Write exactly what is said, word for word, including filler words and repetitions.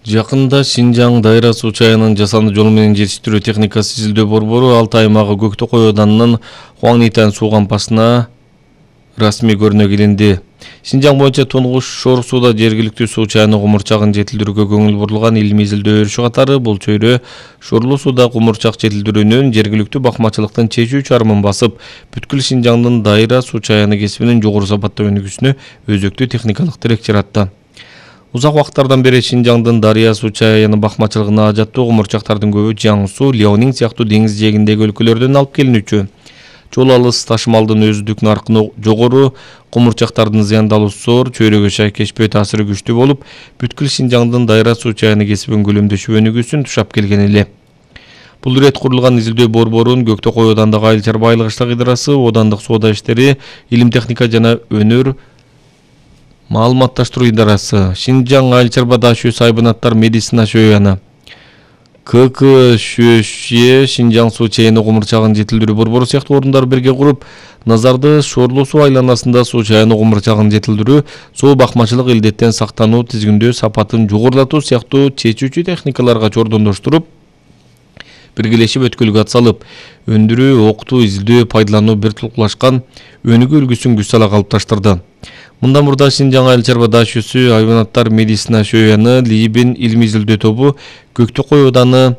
Жакында Шинжаң Дайра суу чайынын жасанды жол менен жетиштирүү техникасы изилдөө борбору Алтай аймагы Көктөкөй ауданынын Хуаңнитан суу кампасына расмий көрүнө килинди. Шинжаң боюнча тунгуч шор сууда жергиликтүү суу чайынын кумурчагын жетилдирүүгө көңүл бурулган илимий изилдөө өрүшү катары бул чөйрө шорлуу сууда кумурчак жетилдирүүнүн жергиликтүү бакмачылыктын чечүү чарымын басып, бүткүл Шинжаңдын Дайра суу чайыны кесибинин жогору сапаттуу өнүгүүсүнө өзөктүү техникалык тирек жаратты. Узак убакыттардан бери Шинжаңдын Дарыя суу чайыны бакмачылыгына ажаттуу кумурчактардын көбү Жаңсу, Леонин сыяктуу деңиз жээгиндеги өлкөлөрдөн алып келинүүчү. Жол алыс, ташымалдын өздүк наркы жогору, кумурчактардын зыяндалуусу зор, чөйрөгө шайкешпөө таасири күчтүү болуп, бүткүл Шинжаңдын Дайра суу чайыны кесибин көлөмдөшүп өнүгүүсүн тушап келген эле. Бул ирет курулган изилдөө борборунун Көктөкөй аудандагы Айыл чарба айыл кыштак идарасы, аудандык соода иштери, илим техника жана өнөр маалыматташтыруу идарасы, Шинжаң айыл чарба даашүйөсү Айбанаттар медицина шөйаны, К К ШӨШ Шинжаң суу чайыны кумурчагын жетилдирүү борбору сыяктуу орундар бирге куруп, назарды шорлуу суу айланасында суу чайыны кумурчагын жетилдирүү, суу бакмачылык илдеттен сактануу, тизгиндөө сапатын жогорулатуу сыяктуу чечүүчү техникаларга жордондоштуруп, биргелешип өткөлгө ат салып, өндүрүү, окутуу, изилдөө, пайдалануу бир тулкулашкан өнүгүү үлгүсүн күч сала калыпташтырды. Мындан мурда Шинжаң айыл чарба даашүйөсү Айбанаттар медицина шөйаны Либин илимий изилдөө тобу Көктөкөй ауданы